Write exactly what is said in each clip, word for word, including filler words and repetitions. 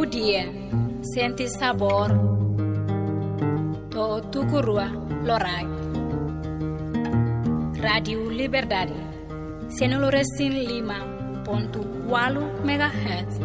Dia, sente sabór, to'o tuku rua loraik. Rádiu Liberdade, sianulu resin lima pontu ualu megahertz.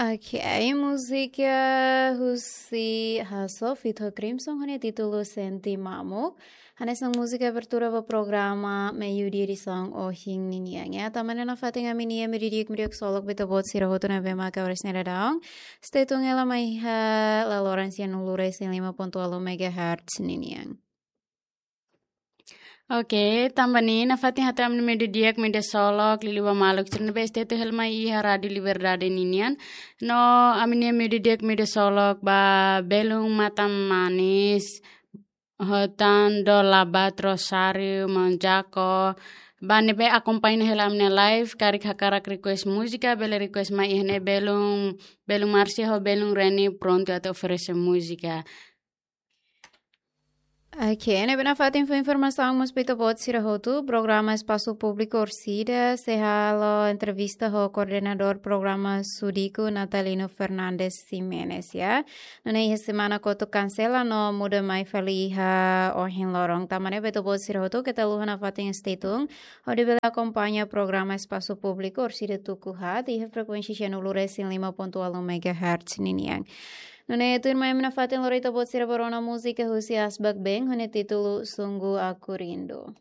Ok, múzika husi Hasso feat ho Crimson ho nia títulu Sente Mamuk. Hanesan múzika abertura ba programa Meiudia edisaun ohin ninian. Ya, tanba ne'e nafatin ami-nia meiudia di'ak, meiudia ksolok ba ita-boot sira hotu ne'ebé maka oras ne'e daudaun. Stay tune hela mai iha laloran sianulu resin lima pontu ualu megahertz ninian. Ok, tanba ne'e nafatin hato'o ami-nia meiudia di'ak, meiudia ksolok, liuliu ba maluk sira ne'ebé stay tune hela mai iha Rádiu Liberdade ninian. No ami-nia meiudia di'ak, meiudia ksolok ba belun Matam Manis, ho tan Dor Labat, Rosário, Maun Jako. Ba ne'ebé akompaña hela ami-nia live, karik hakarak request múzika, bele request mai iha ne'e, belun, belun Márcia ho belun Reni prontu atu oferese múzika. Ok, ne'ebé nafatin fó informasaun mós ba ita-boot sira hotu, programa Espasu Públiku Orsida sei halo entrevista ho koordenadór programa Sudiku, Natalino Fernandes Ximenes, ya. Nune'e iha semana kotuk kansela no muda mai fali iha ohin loron. Tanba ne'e ba ita-boot sira hotu, keta haluha nafatin stay tune hodi bele akompaña programa Espasu Públiku Orsida tuku haat iha frekuénsia sianulu resin lima pontu ualu megahertz ninian. Nune'e tuirmai ami nafatin lori ita-boot sira ba rona múzika husi Asbak Band ho nia títulu Sungguh Aku Rindu.